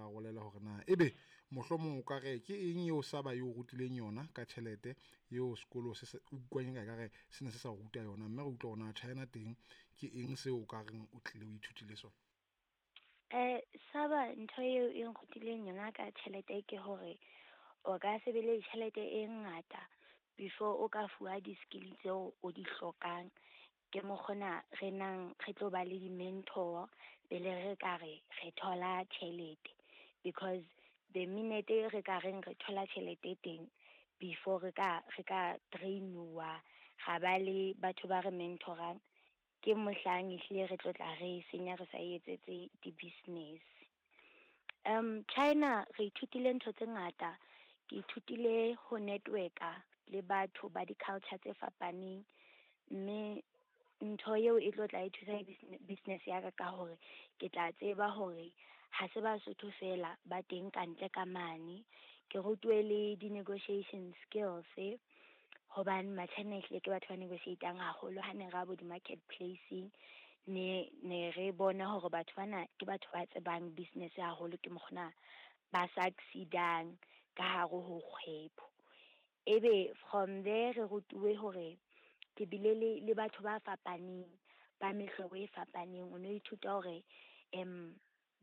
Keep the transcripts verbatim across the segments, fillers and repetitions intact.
arolele hore na ebe mohlomong o ka re ke eng eo Saba eo rutileng yona ka tjhelete eo sekolo se se utlwang ka re se ne se sa ruta yona, mme re utlwa hore na China teng ke eng seo o ka reng o tlile o ithutile sona. Eh Saba ntho eo e nrutileng yona ka tjhelete ke hore o ka se be le tjhelete e ngata before o ka fuwa di-skill tseo o di hlokang. Ke mokgona re nang re tlo ba le di-mentor pele re ka re re thola tjhelete, because the minute re ka reng re thola tjhelete teng before re ka re ka train-uwa ra ba le batho ba re mentorang, ke mohlang ehlile re tlo tla re senya re sa etsetse di-business. Um China re ithutile ntho tse ngata. Ke ithutile ho network-a le batho ba di-culture tse fapaneng, mme ntho eo e tlo tla e thusa business ya ka ka hore ke tla tseba hore ha se Basotho fela ba teng kantle ka mane. Ke rutuwe le di-negotiation skills, hobane ma-China ehlile ke batho ba negotiate-ang haholo. Ha ne ra bo di-market placing, ne ne re bona hore batho bana ke batho ba tsebang business haholo, ke mokgona ba succeed-ang ka hare ho kgwebo. Ebe from there re rutuwe hore ke bile le le batho ba fapaneng ba mehlobo e fapaneng. O no ithuta hore um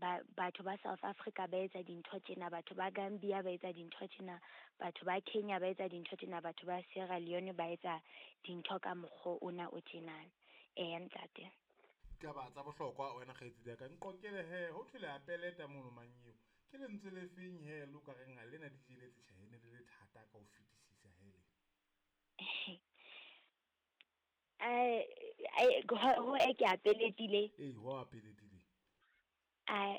ba batho ba South Africa ba etsa dintho tjena, batho ba Gambia ba etsa dintho tjena, batho ba Kenya ba etsa dintho tjena, batho ba Sierra Leone ba etsa dintho ka mokgwa ona o tjenana. Eya ntate. Ditaba tsa bohlokwa wena kgaitsedi ya ka, nqokele he ho thwe le a peleta mono manyeo. Ke lentswe le feng he le o ka reng ha lena di jeletse tjhe ne le le thata ka ho fetisisa he le? Eh ho e ke a peletile. Ee, ho a peletile. A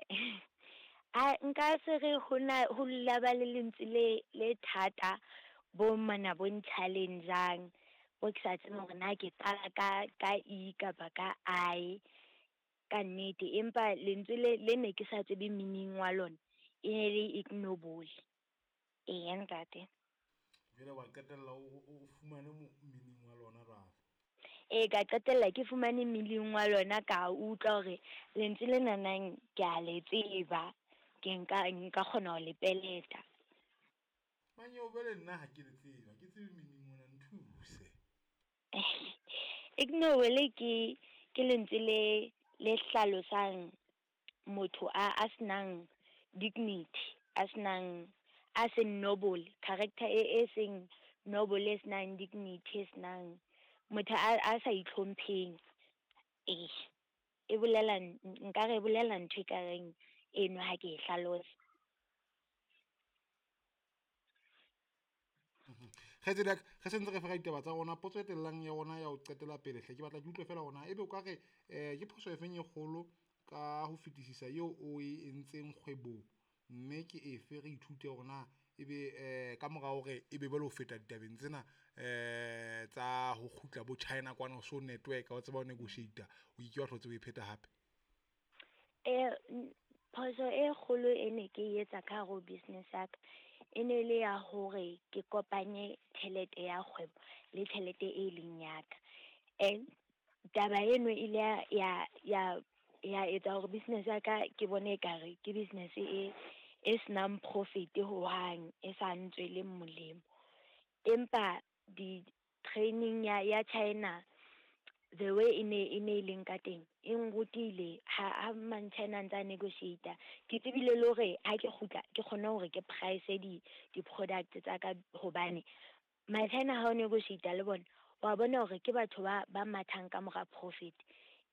a nka se re hona ho la ba le lentswe le le thata bo mana bo n-challenge-ang, bo ke sa tsebe hore na ke qala ka ka E kapa ka I ka nnete, empa lentswe le le ne ke sa tsebe meaning wa lona e ne le ignoble. Eya ntate. Jwale wa qetella o o fumane meaning wa lona jwale. Ee, ka qetella ke fumane meaning wa lona, ka utlwa hore lentswe lena nang ke a le tseba, ke nka nka kgona ho le peleta. Manyeo jwale nna ha ke le tseba, ke tsebe meaning ona, nthuse. Ignoble ke ke lentswe le le hlalosang motho a a senang dignity, a senang a seng noble, character e e seng noble, e senang dignity, e senang motho a a sa itlhompheng. Ee, e bolela nka re bolela ntho e kareng eno ha ke e hlalosa. Kgaitsedi ya ka, re sentse re fera ditaba tsa rona, potso e tellang ya rona ya ho qetela pele hle, ke batla ke utlwe fela hore na ebe o ka re eh ke phoso e feng e kgolo ka ho fetisisa eo o e entseng kgwebong, mme ke efe re ithute hore na ebe eh ka mora hore ebe jwale ho feta ditabeng tsena eh tsa ho kgutla bo China kwana, o so network o tseba ho negotiate, o ke wa hlotse o e pheta hape? Eh phoso e kgolo e ne ke etsa ka hare ho business ya ka e ne le ya hore ke kopanye tjhelete ya kgwebo le tjhelete e leng ya ka. And taba eno e ile ya ya ya etsa hore business ya ka ke bone ekare ke business e e senang profit hohang, e sa ntsweleng molemo. Empa di-training ya ya China, the way e ne e ne e leng ka teng e nrutile ha ha man-China a ntsa negotiate-a, ke tsebile le hore ha ke kgutla ke kgone hore ke price di di-product tsa ka, hobane ma-China ha o negotiate-a le bona wa bona hore ke batho ba ba mathang ka mora profit,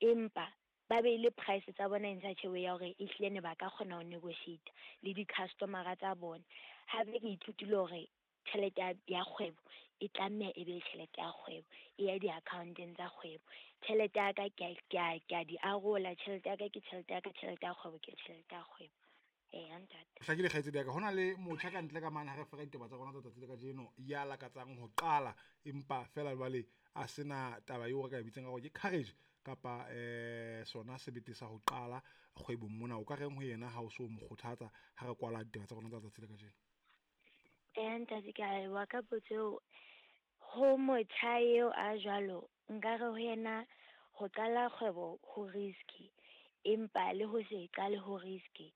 empa ba beile price tsa bona in such a way ya hore ehlile ne ba ka kgona ho negotiate le di-customer-a tsa bona. Hape ke ithutile hore tjhelete ya kgwebo e tlameha e be tjhelete ya kgwebo, e ya di-account-eng tsa kgwebo. Tjhelete ya ka ke a ke a di arola, tjhelete ya ka ke tjhelete ya ka, tjhelete ya kgwebo ke tjhelete ya kgwebo. Eya ntate. Hlakile kgaitsedi ya ka, hona le motjha ka ntle ka mane ha re fera ditaba tsa rona tsa tsatsi le kajeno ya lakatsang ho qala, empa fela jwale a sena taba eo re ka e bitsang ka hore ke courage kapa eh sona sebete sa ho qala kgwebong mona. O ka reng ho yena ha o so mo kgothatsa ha re kwala ditaba tsa rona tsa tsatsi le kajeno? Eya ntate, ke a leboha ka potso eo. Ho motjha eo a jwalo, nka re ho yena ho qala kgwebo ho risky, empa le ho se qale ho risky.